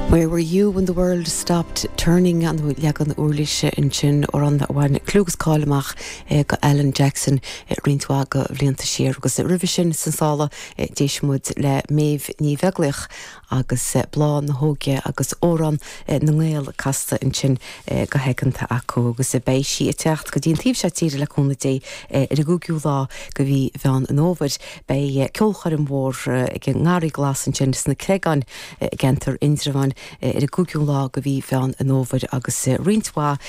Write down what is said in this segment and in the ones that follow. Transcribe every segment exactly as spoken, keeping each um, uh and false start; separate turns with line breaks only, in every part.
Where were you when the world stopped turning an leagan uirlise ansin amhrán a bhain clú agus cáil amach eh, go Alan Jackson eh, roinnt mhaith de bhlianta siar agus roimhe sin san sála eh, d'éist muid le Méabh Ní Bheaglaoich agus Bláth na hÓige agus Amhrán na nGael casta ansin go haigeanta acu agus beidh sí ag teacht go dtí an taobh seo tíre le cúnamh Dé ar an gcúigiú lá de mhí Mheán an Fhómhair beidh ceolchoirm mhór ag an nGarraí Glas ansin sna Creagáin i gceantar Indreabháin ar an gcúigiú lá de mhí Mheán an Fhómhair agus roinnt mhaith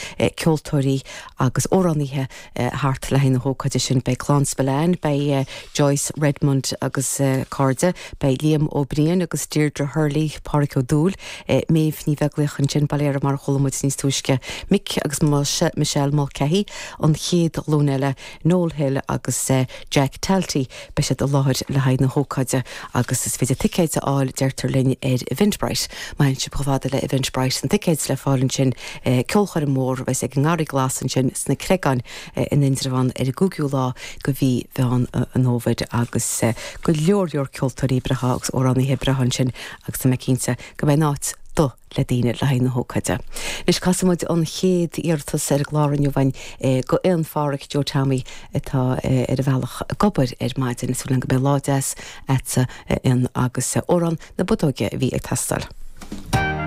ceoltóirí agus amhránaithe thart le na hócáide sin beidh Clann Spillane, beidh Joyce Redmond agus cairde, beidh Liam Ó Briain agus Deirdre Hurley Pádraig Ó Dúill, Méabh Ní Bheaglaoich ansin Bailera mar chuala muid níos túisce Mick agus Michelle Mulcahy an chéad ghlúin eile Noel Hill agus Jack Talty beidh siad i láthair le haghaidh na hócáide agus is féidir ticéid a fháil deirtear linn ar Eventbrite. Má sibh chomh fada le Eventbrite an ticéid le fáil ansin ceolchoirm mhór a bheas ag an nGarraí Glas ansin sna Creagáin in Indreabhán ar an gcúigiú lá de mhí Mheán an Fhómhair agus go leor leor ceoltóirí breátha agus amhránaithe breátha ansin agus tá mé cinnte go mbeidh áit do le daoine le haghaidh na hócáide. Anois casfaidh muid an chéad iarratas ar an gclár inniu go aon Pháraic Joe Tommy atá ar a bhealach ag obair ar maidin is go mbeidh lá deas agat agus amhrán na Bodóige a bhí ag teastáil.